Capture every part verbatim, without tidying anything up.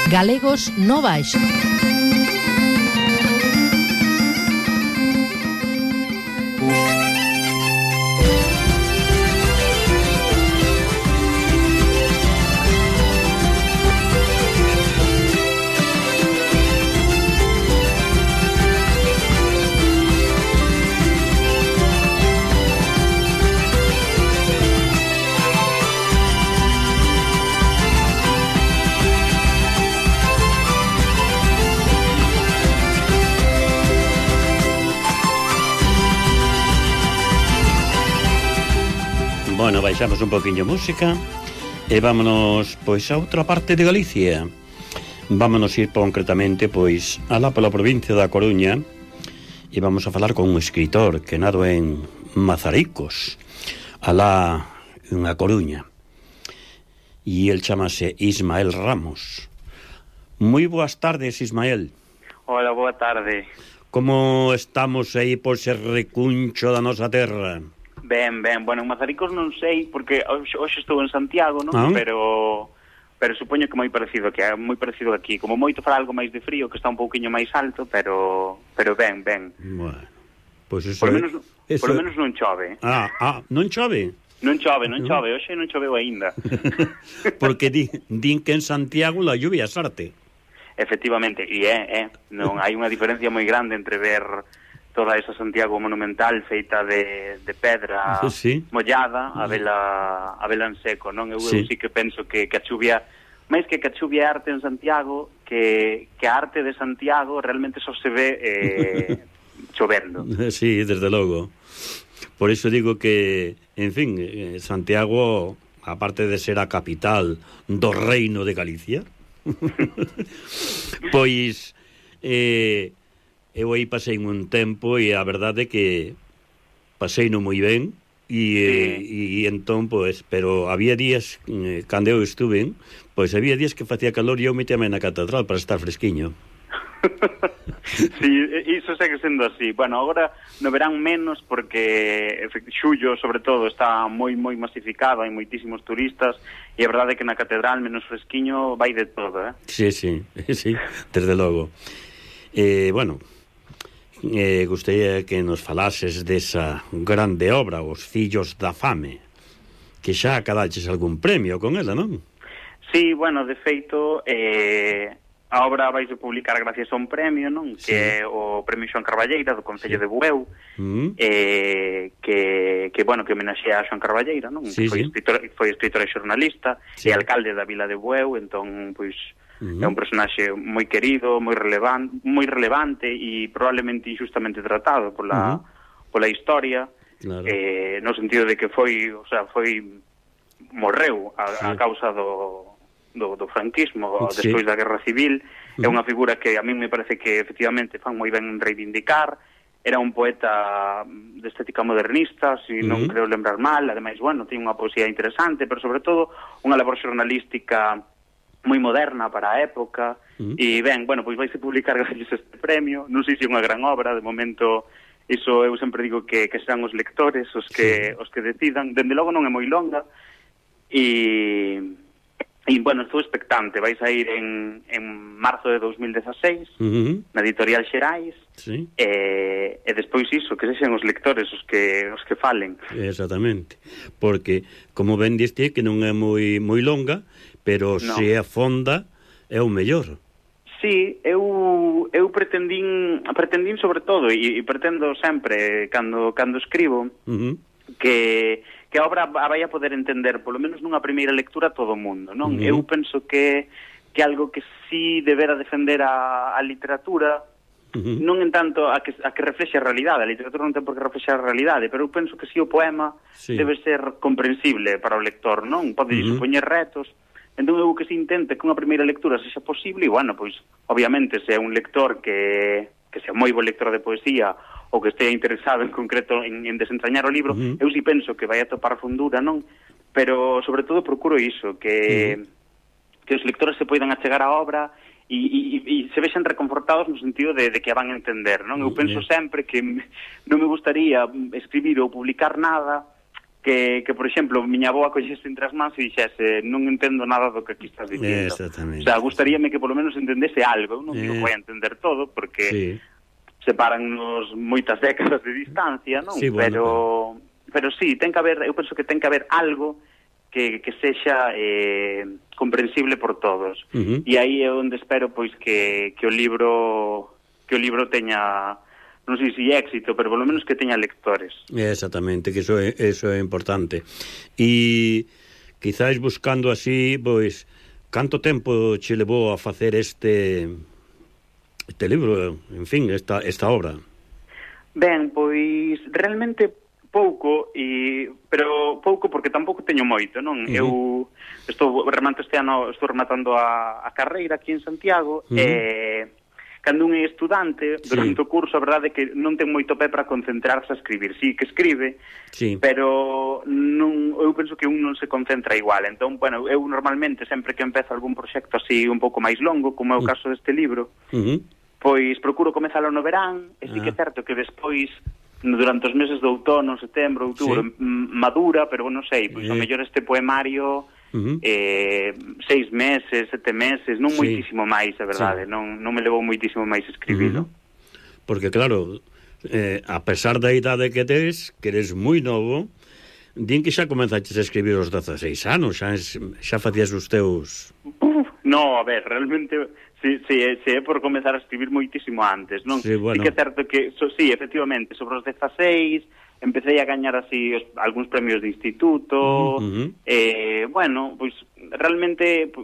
Galegos no Baixo. Bueno, baixamos un poquinho música e vámonos, pois, a outra parte de Galicia. Vámonos ir concretamente, pois, alá pola provincia da Coruña e vamos a falar con un escritor que nado en Mazaricos, alá en A Coruña. E el chamase Ismael Ramos. Moi boas tardes, Ismael. Hola, boa tarde. Como estamos aí por ser recuncho da nosa terra? Ben, ben, bueno, en Mazaricos non sei, porque hoxe, hoxe estou en Santiago, non? Ah. Pero pero supoño que moi parecido, que é moi parecido aquí. Como moito fará algo máis de frío, que está un pouquiño máis alto, pero pero ben, ben. Bueno, pois pues eso... Por lo menos, eso... por lo menos non chove. Ah, ah, non chove? Non chove, non chove, hoxe non choveu aínda. Porque di, din que en Santiago la lluvia é arte. Efectivamente, e é, é, non hai unha diferencia moi grande entre ver toda esa Santiago monumental feita de, de pedra sí. mollada a vela, a vela en seco, non? Eu, sí. eu sí que penso que, que a chuvia, máis que que a chuvia é arte en Santiago, que, que a arte de Santiago realmente só se ve eh, chovendo. Sí, desde logo. Por iso digo que, en fin, Santiago, aparte de ser a capital do reino de Galicia, pois eh, eu aí pasei un tempo e a verdade é que pasei no moi ben e, sí. e, e entón, pois, pero había días eh, cando eu estuve, pois había días que facía calor e eu metíme na catedral para estar fresquiño. Sí, iso segue sendo así. Bueno, agora no verán menos porque xullo, sobre todo, está moi moi masificado, hai moitísimos turistas e a verdade é que na catedral menos fresquiño vai de todo, eh? Sí, sí, sí, desde logo. Eh, bueno, eh, gustaría que nos falases desa grande obra, Os fillos da fame, que xa acadaches algún premio con ela, non? Sí, bueno, de feito, eh, a obra vaise publicar gracias a un premio, non? Sí. Que é o Premio Xoán Carballeira do Concello sí. de Bueu, mm. eh, que, que, bueno, que homenaxea a Xoán Carballeira, non? Sí, que foi, sí. escritor, foi escritor e xornalista sí. e alcalde da vila de Bueu, entón, pois, mm. é un personaxe moi querido, moi relevante, moi relevante e probablemente injustamente tratado pola, mm. pola historia, claro. eh, no sentido de que foi, o sea, foi morreu a, sí. a causa do Do, do franquismo, sí. despois da Guerra Civil. Uh-huh. É unha figura que a mí me parece que efectivamente fan moi ben en reivindicar. Era un poeta de estética modernista, se si uh-huh. non creo lembrar mal. Ademais, bueno, tiña unha poesía interesante, pero sobre todo unha labor xornalística moi moderna para a época. Uh-huh. E ben, bueno, pois vaise publicar gracias a este premio. Non sei se é unha gran obra, de momento iso eu sempre digo que, que serán os lectores os que, sí. os que decidan. Dende logo non é moi longa e... E, bueno, estou expectante. Vais a ir en, en marzo de dos mil dezaseis, uh-huh. na Editorial Xerais, sí. e, e despois iso, que sexen os lectores os que os que falen. Exactamente. Porque, como ben diste, que non é moi moi longa, pero no. se é fonda, é o mellor. Sí, eu eu pretendín, pretendín sobre todo, e, e pretendo sempre, cando, cando escribo, uh-huh. que... que a obra vai a poder entender, polo menos nunha primeira lectura, todo o mundo, non? Uh-huh. Eu penso que que algo que sí debera defender a, a literatura, uh-huh. non en tanto a que, a que reflexe a realidade, a literatura non ten por que reflexar a realidade, pero eu penso que sí o poema sí. debe ser comprensible para o lector, non? Pode uh-huh. supoñer retos, entón eu que se intente que unha primeira lectura sexa posible, e, bueno, pois, obviamente, se é un lector que, que sea moi bo lector de poesía, ou que estea interesado en concreto en, en desentrañar o libro, uh-huh. eu si penso que vai a topar fundura, non? Pero, sobre todo, procuro iso, que, uh-huh. que os lectores se poidan achegar á obra e, e, e se vexan reconfortados no sentido de, de que a van a entender, non? Eu penso uh-huh. sempre que non me gustaría escribir ou publicar nada que, que por exemplo, miña avoa collese entre as mans e dixese non entendo nada do que aquí estás dicindo. Exactamente. O sea, gustaríame que polo menos entendese algo. Eu non eh, digo que vai a entender todo, porque sí. separannos moitas décadas de distancia, non? Sí, bueno, pero, pero sí, ten que haber, eu penso que ten que haber algo que, que sexa eh, comprensible por todos. Uh-huh. E aí é onde espero pois que, que o libro que o libro teña, non sei se éxito, pero polo menos que teña lectores. Exactamente, que eso é, eso é importante. E quizáis buscando así, pois, canto tempo che levou a facer este este libro, en fin, esta, esta obra? Ben, pois realmente pouco, e pero pouco porque tampouco teño moito, non? Uh-huh. Eu estou remato este ano, estou rematando a, a carreira aquí en Santiago, uh-huh. e cando un é estudante, durante sí. o curso, a verdade é que non ten moito pé para concentrarse a escribir. Sí, que escribe, sí. pero non, eu penso que un non se concentra igual. Entón, bueno, eu normalmente, sempre que empezo algún proxecto así un pouco máis longo, como é o caso deste libro, uh-huh. pois procuro comezalo no verán, e sí que é certo que despois, durante os meses de outono, setembro, outubro, sí. madura, pero non sei, pois eh. o mellor este poemario... Uh-huh. eh, seis meses, sete meses, non sí. moitísimo máis, a verdade, sí. non, non me levou moitísimo máis escribilo. Uh-huh. Porque claro, eh, a pesar da idade que tes, que eres moi novo, din que xa comenzaches a escribir os dezaseis anos, xa, xa facías os teus... Uf, no, a ver, realmente si, si, si é por comezar a escribir moitísimo antes, non? Sí, bueno. Sí que é certo que, so, sí, efectivamente, sobre os dezaseis empecé a gañar así os, algúns premios de instituto, uh-huh. eh, bueno, pois realmente pues,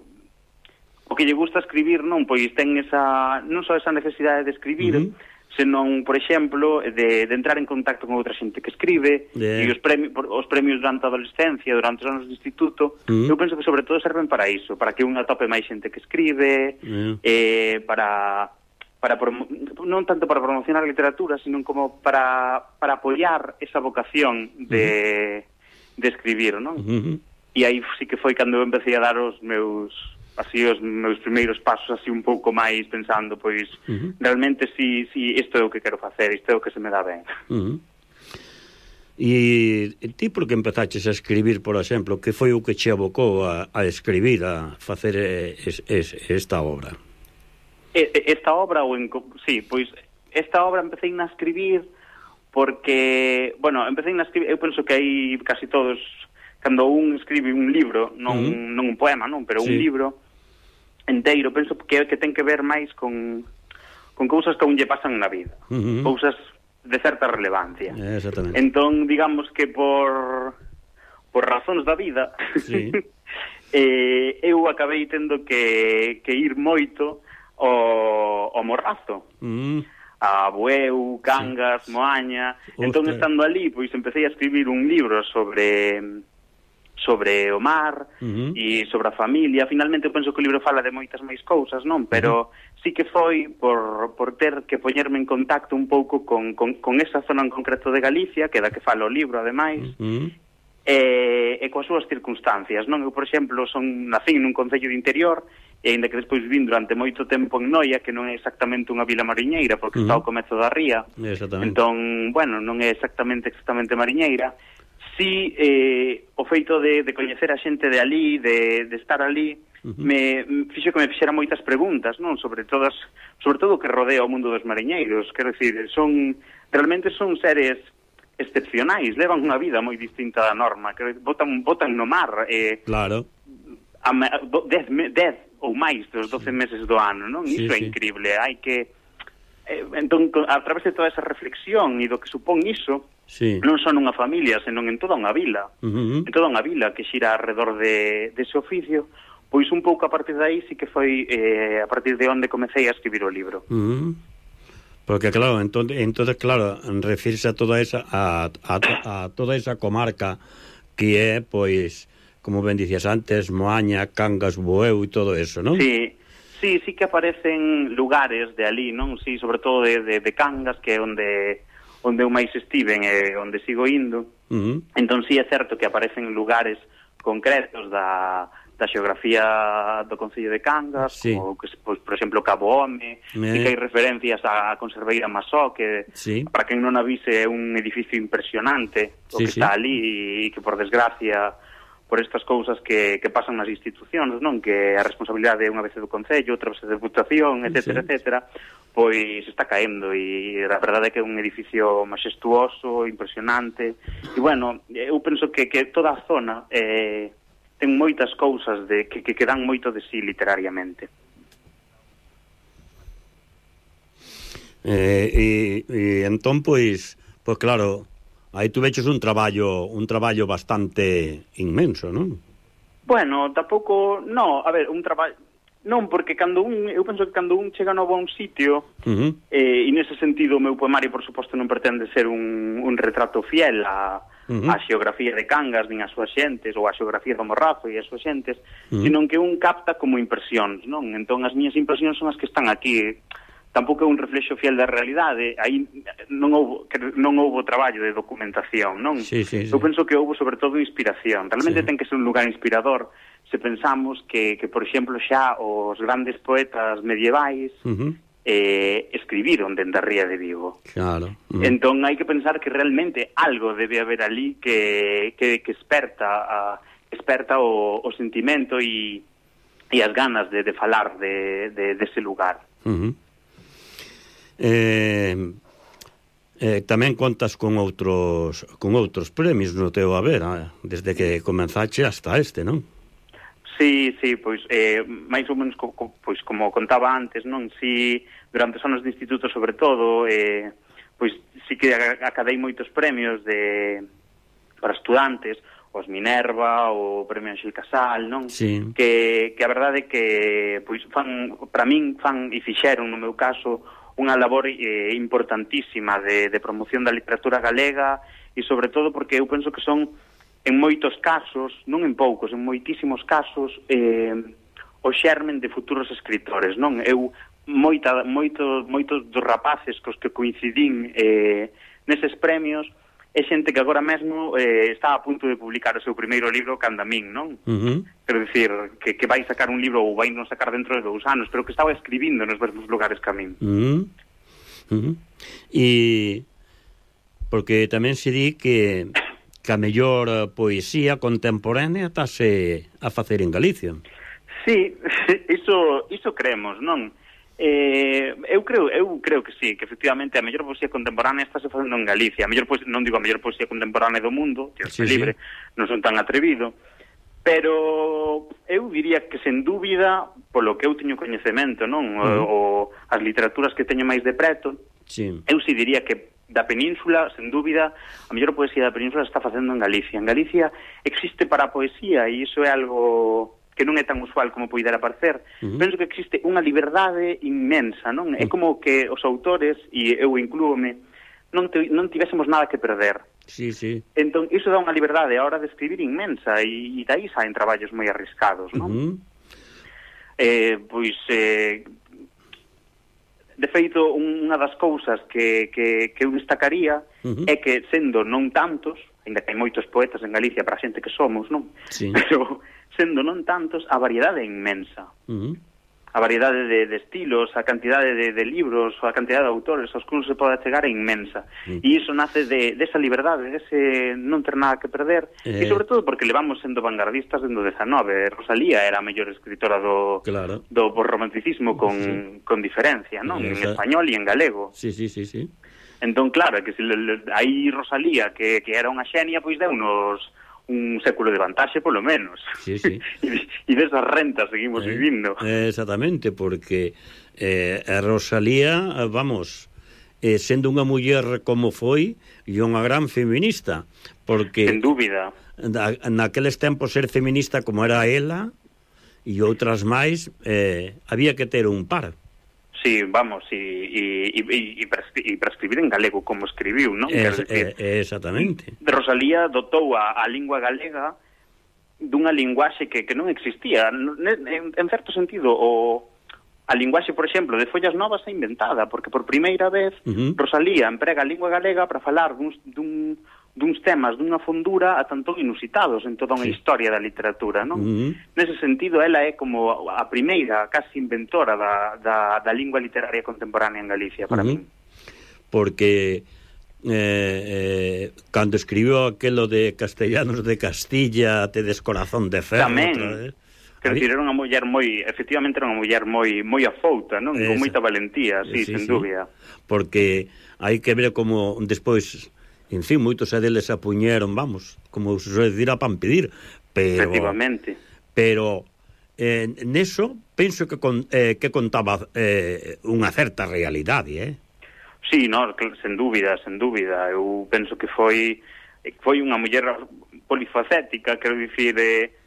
o que lle gusta escribir, non, pois ten esa, non só esa necesidade de escribir, uh-huh. senón, por exemplo, de, de entrar en contacto con outra xente que escribe, yeah. e os premios, os premios durante a adolescencia, durante os anos de instituto, uh-huh. eu penso que sobre todo serven para iso, para que unha tope máis xente que escribe, yeah. eh, para... para promo- non tanto para promocionar a literatura, sino como para, para apoiar esa vocación de, uh-huh. de escribir, non? Uh-huh. E aí sí que foi cando eu empecé a dar os meus así os meus primeiros pasos así un pouco máis pensando, pois uh-huh. realmente si, si isto é o que quero facer, isto é o que se me dá ben. Uh-huh. E ti por que empezaches a escribir, por exemplo, que foi o que che abocou a, a escribir, a facer es, es, esta obra? Esta obra, ou en, sí, pois esta obra empecé a escribir porque, bueno, empecé a escribir, eu penso que hai casi todos, cando un escribe un libro, non, uh-huh. non un poema, non, pero sí. un libro enteiro, penso que que ten que ver máis con, con cousas que a un lle pasan na vida, uh-huh. cousas de certa relevancia. Exactamente. Entón, digamos que por por razóns da vida, sí. eh, eu acabei tendo que, que ir moito o, o Morrazo, mm. a Bueu, Cangas, sí. Moaña. Ostras. Entón, estando ali, pois empecé a escribir un libro sobre sobre o mar uh-huh. e sobre a familia. Finalmente, eu penso que o libro fala de moitas máis cousas, non? Pero uh-huh. sí que foi por, por ter que poñerme en contacto un pouco con, con, con esa zona en concreto de Galicia, que é da que fala o libro, ademais, uh-huh. e, e coas súas circunstancias, non? Eu, por exemplo, son nacín nun concello de interior, e ainda que despois vin durante moito tempo en Noia, que non é exactamente unha vila mariñeira, porque uh-huh. está ao comezo da ría. Entón, bueno, non é exactamente exactamente mariñeira. Si eh, o feito de, de coñecer a xente de ali, de, de estar ali, uh-huh. me fixo que me fixera moitas preguntas, non? Sobre todas, sobre todo o que rodea o mundo dos mariñeiros. Quero dicir, son realmente son seres excepcionais, levan unha vida moi distinta da norma, que botan, botan no mar. Eh, claro. A, dez, dez ou máis dos doce meses do ano, non? Sí, Iso é sí. increíble, hai que eh, entón, a través de toda esa reflexión e do que supón iso, sí. non só nunha familia, senón en toda unha vila, uh-huh. en toda unha vila que xira alrededor de, de ese oficio, pois un pouco a partir de aí sí que foi eh, a partir de onde comecei a escribir o libro. Uh-huh. Porque claro, entonces, entonces claro, refirse a toda esa a, a, a toda esa comarca que é, pois, como ben dicías antes, Moaña, Cangas, Bueu e todo eso, non? Sí, sí, sí que aparecen lugares de ali, non? Sí, sobre todo de, de, de Cangas, que é onde onde eu máis estiven e onde sigo indo. Uh-huh. Entón, sí, é certo que aparecen lugares concretos da, da xeografía do Concello de Cangas, sí. como, que, pois, por exemplo, Cabo Home, eh. e que hai referencias á Conserveira Masó, que, sí. para quen non avise, é un edificio impresionante, o sí, que sí. está ali, e que, por desgracia, por estas cousas que, que pasan nas institucións, non? Que a responsabilidade é unha vez do Concello, outra vez da Deputación, etcétera, sí. etcétera, pois está caendo, e a verdade é que é un edificio maxestuoso, impresionante, e, bueno, eu penso que, que toda a zona... Eh, ten moitas cousas de que, que, que dan moito de sí literariamente. Eh, e, e entón, pois, pois claro, aí tu veches un traballo un traballo bastante inmenso, non? Bueno, tampouco, no, a ver, un traballo non, porque cando un, eu penso que cando un chega novo a un sitio, uh-huh. eh, e nese sentido o meu poemario, por suposto, non pretende ser un, un retrato fiel a Uh-huh. a xeografía de Cangas, nin as súas xentes, ou a xeografía do Morrazo e as súas xentes, uh-huh. senón que un capta como impresións, non? Entón, as miñas impresións son as que están aquí. Tampouco é un reflexo fiel da realidade, aí non houbo, non houbo traballo de documentación, non? Sí, sí, sí. Eu penso que houbo, sobre todo, inspiración. Realmente sí. ten que ser un lugar inspirador se pensamos que, que por exemplo, xa os grandes poetas medievais uh-huh. eh, escribiron dende a ría de Vigo. Claro. Uh-huh. Entón hai que pensar que realmente algo debe haber ali que, que, que esperta a, esperta o, o sentimento e, e as ganas de, de falar de, de, de ese lugar. Uh-huh. eh, eh, tamén contas con outros con outros premios no teu haber, eh? Desde que comenzache hasta este, non? Sí, sí, pois eh, máis ou menos co, co, pois como contaba antes, non? Si durante os anos de instituto, sobre todo, eh, pois si que acadei moitos premios de para estudantes, os Minerva, o Premio Anxel Casal, non? Sí. Que, que a verdade é que pois fan, para min fan e fixeron no meu caso unha labor eh, importantísima de, de promoción da literatura galega e sobre todo porque eu penso que son en moitos casos, non en poucos, en moitísimos casos, eh, o xermen de futuros escritores, non? Eu, moita, moito, moitos dos rapaces cos que coincidín eh, neses premios, é xente que agora mesmo eh, está a punto de publicar o seu primeiro libro canda min, non? Uh-huh. Quero dicir, que, que vai sacar un libro ou vai non sacar dentro de dous anos, pero que estaba escribindo nos mesmos lugares que a min. Uh-huh. Uh-huh. E porque tamén se di que que a mellor poesía contemporánea estase a facer en Galicia. Sí, iso, iso creemos, non? Eh, eu creo eu creo que sí, que efectivamente a mellor poesía contemporánea estáse facendo en Galicia. A mellor poesía, non digo a mellor poesía contemporánea do mundo, que sí, é libre, sí. Non son tan atrevido, pero eu diría que sen dúbida, polo que eu teño coñecemento, non? Uh-huh. O, o as literaturas que teño máis de preto, sí. Eu si diría que da Península, sen dúbida, a mellor poesía da Península está facendo en Galicia. En Galicia existe para a poesía, e iso é algo que non é tan usual como poidera parecer. Uh-huh. Penso que existe unha liberdade inmensa, non? Uh-huh. É como que os autores, e eu inclúome, non, te, non tivésemos nada que perder. Sí, sí. Entón, iso dá unha liberdade a hora de escribir inmensa, e, e dai saen traballos moi arriscados, non? Uh-huh. Eh, pois... Eh, De feito, unha das cousas que, que, que eu destacaría uh-huh. é que, sendo non tantos, ainda que hai moitos poetas en Galicia para a xente que somos, non? Sí. Pero, sendo non tantos, a variedade é inmensa. Uh-huh. A variedade de, de estilos, a cantidade de, de libros, a cantidade de autores aos que non se pode chegar é inmensa. Uh-huh. E iso nace de, de esa liberdade, de ese non ter nada que perder, eh... e sobre todo porque levamos sendo vanguardistas dentro do dezanove. Rosalía era a mellor escritora do, claro. do romanticismo con, sí. con diferencia, non? Sí, en español e en galego. Sí, sí, sí, sí. Entón, claro, que se aí Rosalía, que, que era unha xenia, pois deu unos un século de vantaxe, polo menos. Sí, sí. E desas rentas seguimos eh, vivindo. Exactamente, porque eh, a Rosalía, vamos, eh, sendo unha muller como foi, e unha gran feminista, porque... Sen dúbida. Na, naqueles tempos ser feminista como era ela, e outras máis, eh, había que ter un par. Sí, vamos, e, e, e, e, para escribir en galego como escribiu, non? Es, decir, eh, exactamente. Rosalía dotou a, a lingua galega dunha linguaxe que, que non existía. En, en certo sentido, o, a linguaxe, por exemplo, de Follas Novas é inventada, porque por primeira vez uh-huh. Rosalía emprega a lingua galega para falar dun, dun, duns temas dunha fondura a tanto inusitados en toda unha sí. historia da literatura, non? Uh-huh. Nese sentido, ela é como a primeira, casi inventora da, da, da lingua literaria contemporánea en Galicia, para uh-huh. min. Porque eh, eh, cando escribió aquelo de Castellanos de Castilla, te descorazón de ferro... Tamén, quero dicir, era unha muller moi, efectivamente era unha muller moi moi afouta, non? Con moita valentía, sí, sí, sen sí. dúbida. Porque hai que ver como despois... En fin, moitos deles apuñeron, vamos, como se suele decir, a pan pedir, pero... Efectivamente. Pero, eh, neso, penso que con, eh, que contaba eh, unha certa realidade, eh? Sí, no, sen dúbida, sen dúbida. Eu penso que foi foi unha muller polifacética, quero dicir... Eh,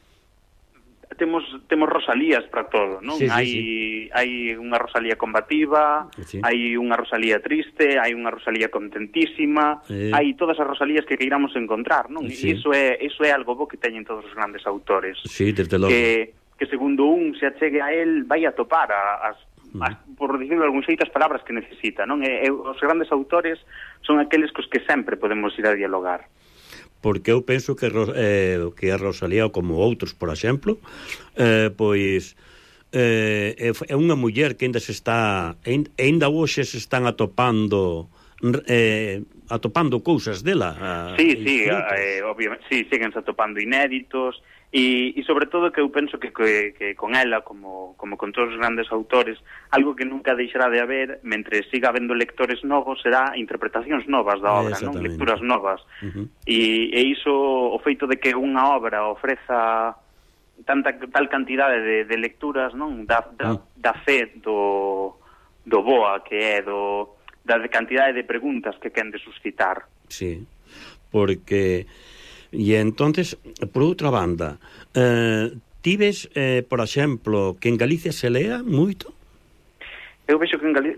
temos temos Rosalías para todo, non? Sí, sí, hai sí. hai unha Rosalía combativa, sí. hai unha Rosalía triste, hai unha Rosalía contentísima, sí. hai todas as Rosalías que queiramos encontrar, non? Sí. E iso é iso é algo bo que teñen todos os grandes autores. Sí, desde logo. Que que segundo un se achegue a él vai a topar a, as, as por dicirlo de algún xeito as palabras que necesita, non? E, e os grandes autores son aqueles cos que sempre podemos ir a dialogar. Porque eu penso que, eh, que a Rosalía, como outros, por exemplo, eh, pois eh, é unha muller que ainda se está, ainda hoxe se están atopando eh, atopando cousas dela. Sí, sí, eh, obviamente, sí, síguense atopando inéditos, e, e sobre todo que eu penso que, que, que con ela, como, como con todos os grandes autores, algo que nunca deixará de haber, mentre siga habendo lectores novos, será interpretacións novas da obra, non? Lecturas novas. Uh-huh. E, e iso, o feito de que unha obra ofreza tanta tal cantidade de, de lecturas, non? Da, da, uh-huh. da fe do, do boa que é, do, da cantidade de preguntas que quen de suscitar. Sí, porque... E entonces, por outra banda, eh, ti ves, eh, por exemplo, que en Galicia se lea moito? Eu vexo que en Galicia...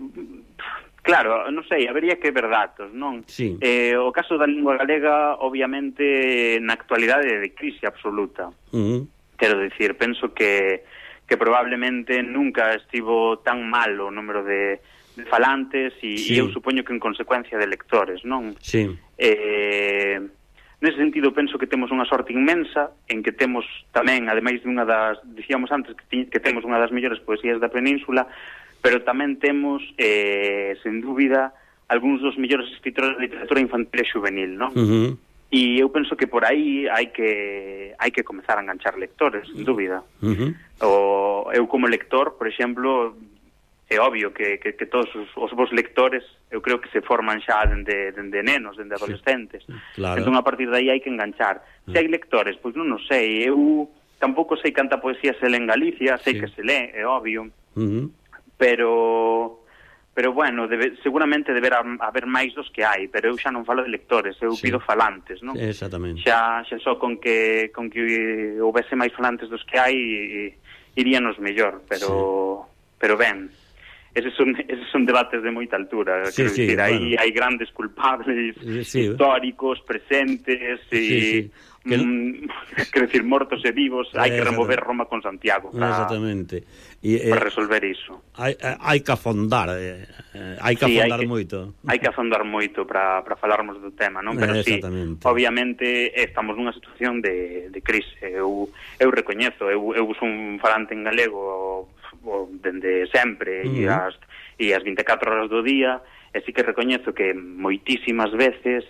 Claro, non sei, habería que ver datos, non? Sí. Eh, o caso da lingua galega, obviamente, na actualidade é de crise absoluta. Uh-huh. Quero dicir, penso que, que probablemente nunca estivo tan mal o número de, de falantes e, sí. e eu supoño que en consecuencia de lectores, non? Sí. Eh... Nese sentido, penso que temos unha sorte inmensa en que temos tamén, ademais de unha das, dicíamos antes, que, que temos unha das mellores poesías da península, pero tamén temos, eh, sen dúbida, algúns dos mellores escritores de literatura infantil e juvenil, non? Uh-huh. E eu penso que por aí hai que hai que comezar a enganchar lectores, sen dúbida. Uh-huh. O, eu como lector, por exemplo... É obvio que, que, que todos os, os vos lectores eu creo que se forman xa dende, dende nenos, dende adolescentes. Sí, claro. Entón, a partir de aí hai que enganchar. Se hai lectores, pois non o sei. Eu tampouco sei canta poesía se lê en Galicia, sei sí. que se lê, é obvio. Uh-huh. Pero, pero bueno, debe, seguramente deberá haber máis dos que hai, pero eu xa non falo de lectores, eu sí. pido falantes, non? Exactamente. Xa, xa só con que, con que houvese máis falantes dos que hai, iríanos mellor, pero, sí. pero ben... Eses son, eses son debates de moita altura, sí, quero sí, dicir, bueno. hai, hai grandes culpables sí, históricos, presentes e, sí, sí. Que... Mm, quero dicir, mortos e vivos, hai que remover Roma con Santiago para, exactamente. E, eh, para resolver iso. Hai, hai que afondar, eh, hai que sí, afondar hai que, moito. Hai que afondar moito para, para falarmos do tema, non? Pero sí, obviamente estamos nunha situación de, de crise. Eu, eu recoñezo, eu, eu uso un falante en galego dende sempre uh-huh. e, as, e as vinte e catro horas do día, e sí que recoñezo que moitísimas veces,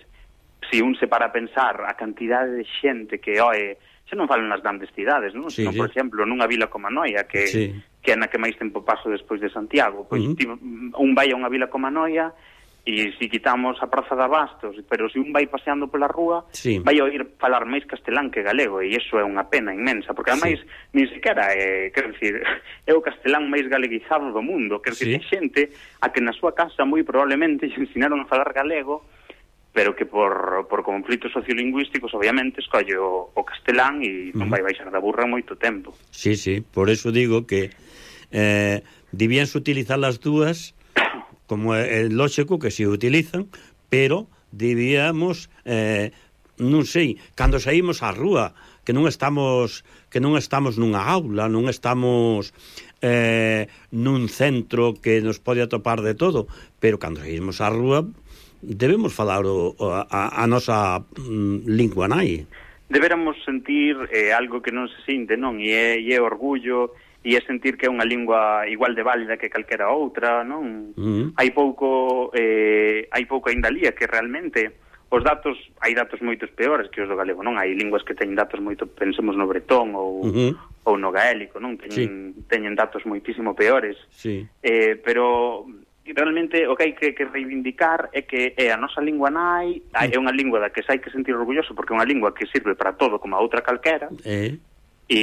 se un se para a pensar a cantidade de xente que oe, xa non falo nas grandes cidades, non? Sí, Sino, sí. por exemplo, nunha vila como Anoia, que, sí. que é na que máis tempo paso despois de Santiago, pois uh-huh. un vai a unha vila como Anoia e se quitamos a Praza de Abastos, pero se un vai paseando pola rúa, sí. vai a oír falar máis castelán que galego, e iso é unha pena inmensa, porque ademais, sí. nin sequera é, quero dicir, é o castelán máis galeguizado do mundo, quero dicir, sí. xente a que na súa casa moi probablemente lle ensinaron a falar galego, pero que por, por conflitos sociolingüísticos, obviamente, escolle o, o castelán e non vai baixar da burra moito tempo. Sí, sí, por eso digo que eh, debíanse utilizar as dúas, como é lógico que se utilizan, pero debíamos, eh, non sei, cando saímos á rúa, que non estamos que non estamos nunha aula, non estamos eh, nun centro que nos pode atopar de todo, pero cando saímos á rúa, debemos falar o, a, a nosa mm, lingua nai. Deberamos sentir eh, algo que non se sinte, non? E é, e é orgullo, e é sentir que é unha lingua igual de válida que calquera outra, non? Uh-huh. Hai pouco eh, hai pouco ainda lía que realmente os datos, hai datos moitos peores que os do galego, non? Hai linguas que teñen datos moito, pensemos no bretón ou, uh-huh. ou no gaélico, non? Teñen, sí. teñen datos moitísimo peores. Sí. Eh, pero realmente o que hai que, que reivindicar é que é a nosa lingua nai, é unha lingua da que se hai que sentir orgulloso porque é unha lingua que sirve para todo como a outra calquera. Eh. E,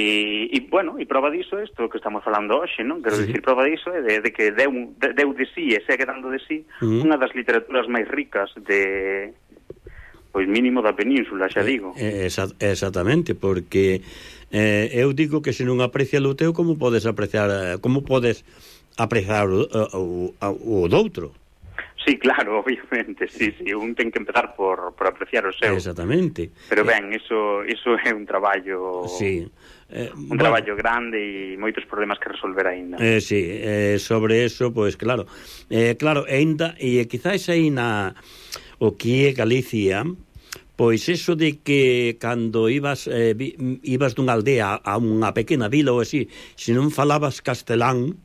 e, bueno, e prova diso isto que estamos falando hoxe, non? Quero sí. dicir, prova diso é de, de que deu de, deu de sí e segue dando de sí uh-huh. unha das literaturas máis ricas de, pois mínimo da península, xa digo. Eh, exa- exactamente, porque eh, eu digo que se non aprecia o teu, como podes apreciar, como podes apreciar o, o, o, o doutro? Sí, claro, obviamente, sí, sí, un ten que empezar por, por apreciar o seu. Exactamente. Pero ben, iso, iso é un traballo sí. eh, un bueno, traballo grande e moitos problemas que resolver aínda. Eh, sí, eh, sobre eso, pois pues, claro, eh, claro, aínda, e quizás aí na o que é Galicia, pois eso de que cando ibas eh, ibas dunha aldea a unha pequena vila ou así, se non falabas castelán,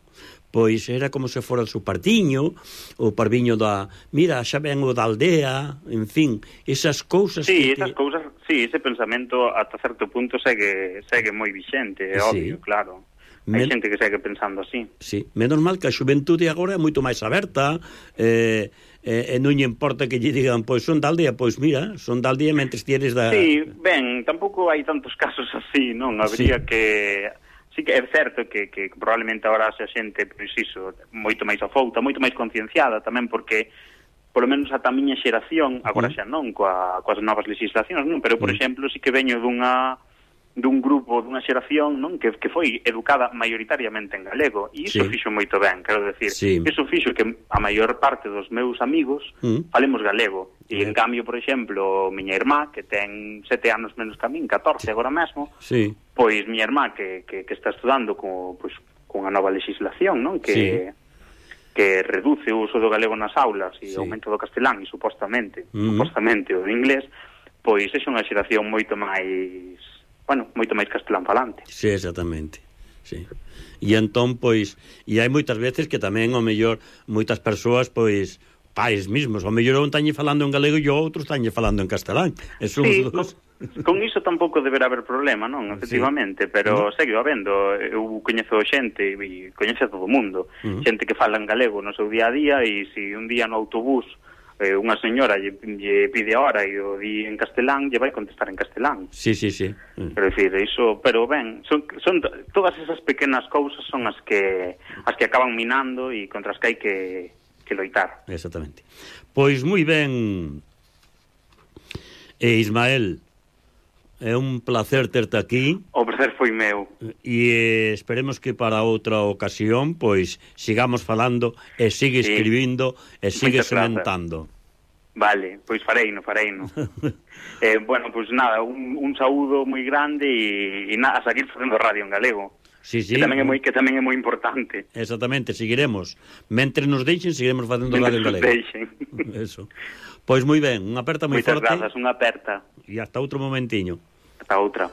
pois era como se fora o seu partiño, o parviño da, mira, xa ven o da aldea, en fin, esas cousas sí, que... esas te... cousas, sí, ese pensamento ata certo punto segue segue moi vixente, é sí. obvio, claro. Hai Men... xente que segue pensando así. Sí, menos mal que a xuventude agora é moito máis aberta, eh, eh, e non lle importa que lle digan, pois son da aldea, pois mira, son da aldea mentres tienes da... Sí, ben, tampouco hai tantos casos así, non? Habría sí. que... Sí que é certo que, que probablemente agora xa xente, pois iso, moito máis afouta, moito máis concienciada tamén, porque polo menos ata a miña xeración, agora xa non, coa, coas novas legislacións, non? Pero, por exemplo, sí que veño dunha dun grupo, dunha xeración, non? Que, que foi educada maioritariamente en galego, e iso sí. fixo moito ben, quero decir, sí. iso fixo que a maior parte dos meus amigos mm. falemos galego, e en cambio, por exemplo, miña irmá, que ten sete anos menos que a min, catorce agora mesmo, sí. pois miña irmá que, que, que está estudando co, pois, con a nova legislación, non? Que, sí. que reduce o uso do galego nas aulas e sí. aumento do castelán, e supostamente, mm. supostamente o do inglés, pois é unha xeración moito máis... bueno, moito máis castelán falante. Sí, exactamente. Sí. E entón, pois, e hai moitas veces que tamén, ao mellor, moitas persoas, pois, pais mismos, ao mellor un tañe falando en galego e o outro tañe falando en castelán. Eso sí, con, con iso tampouco deberá haber problema, non? Efectivamente, sí. pero uh-huh. segue habendo. Eu coñezo xente, e coñece a todo o mundo, uh-huh. xente que fala en galego no seu día a día, e se si un día no autobús Eh, unha señora lle, lle pide a hora e o di en castelán, lle vai contestar en castelán. Sí, sí, sí. Mm. Pero decir, iso, pero ben, son, son todas esas pequenas cousas son as que as que acaban minando e contra as que hai que, que loitar. Exactamente. Pois moi ben, e Ismael, é un placer terte aquí. O placer foi meu. E eh, esperemos que para outra ocasión pois sigamos falando e sigue sí. escribindo e sigue sementando. Vale, pois fareino, fareino. eh, bueno, pois nada, un, un saúdo moi grande e, e nada, a seguir facendo radio en galego. Sí, sí. Que tamén é moi que tamén é moi importante. Exactamente, seguiremos. Mentre nos deixen, seguiremos facendo radio en galego. Deixen. Eso. Pois moi ben, unha aperta moi forte. Moitas grazas, unha aperta. E hasta outro momentiño. Hasta outra.